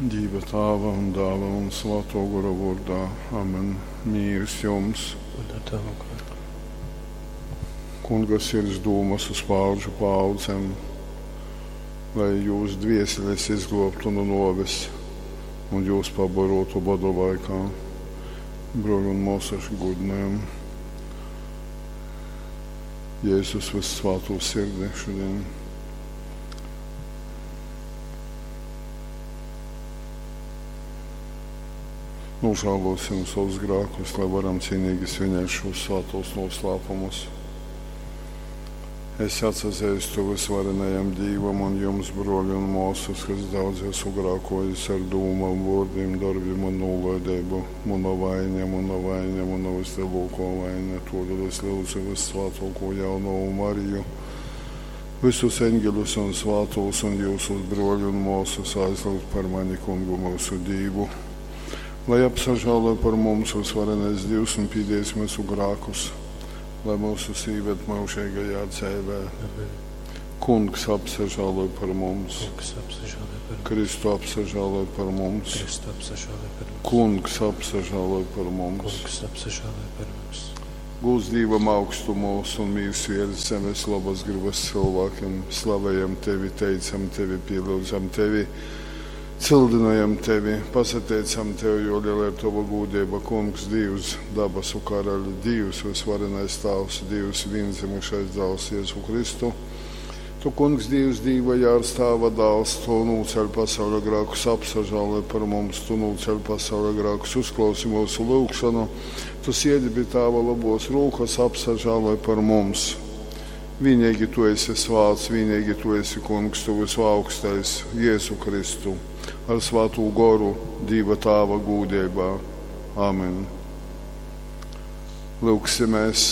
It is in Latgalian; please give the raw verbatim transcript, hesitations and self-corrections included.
Dīva Tāva un Dāla un Svātō Gora vōrdā. Amen. Mīrs jums. Un ar tavu garu. Kunga sirds dūmas uz paaudžu paaudzēm, lai jūs dvieseles izglābtu no nōves un jūs pabarotu bada laikā. Brōļi un māsas, godinājam Jēzus vyssvātū sirdi šodien. Nožēlosim savus grēkus, lai varam cienīgi svinēt šos svētos noslēpumus. Es atsazīstu visvarenajam Dīvam un jums, broļi un māsas, kas daudz esmu grēkojis ar dūmām, vārdiem, darbiem un nolaidību. Mana vaina, mana vaina, mana vislielākā vaina. Todēļ es lūdzu vissvētāko jaunavu Mariju, visus eņģeļus un svētos un jūsus broļu un māsas aizlūgt par mani kungu mūsu Dīvu. Lai apsažālo par mums visvarenais Dievs un pīdies mūsu grēkus, lai mūsu īved mūžīgajā dzīvē. Amen. Kungs apsažālo par mums, Kungs apsažālē par mums. Kristu apsažālo par mums, Kristu apsažālē par mums. Kungs apsažālo par mums. Kungs apsažālē par mums. Gūs Dievam augstumos un mīrs virs zemes labas gribas cilvēkiem. Slavējam tevi, teicam tevi, pielūdzam tevi, cildinājam tevi, pasateicam tev, jo liela ir tava gūdība, Kungs, Dievs, dabasu karaļi, Dievs, visvarenais Tāvs, Dievs, vienzimušais dēls Jēzu Kristu. Tu, Kungs, Dievs, Dīva jārs Tāva dēls, tu nūceļ pasaules grēkus, apsažālē par mums, tu nūceļ pasaules grēkus, uzklausi mūsu lūgšanu, tu siedi pie Tāva labos rūkas, apsažālē par mums. Vienīgi tu esi svāts, vienīgi tu esi Kungs, tu visaugstais, Jēzu Kristu, ar svātū goru, Dīva Tāva gūdībā. Amen. Lūgsimies.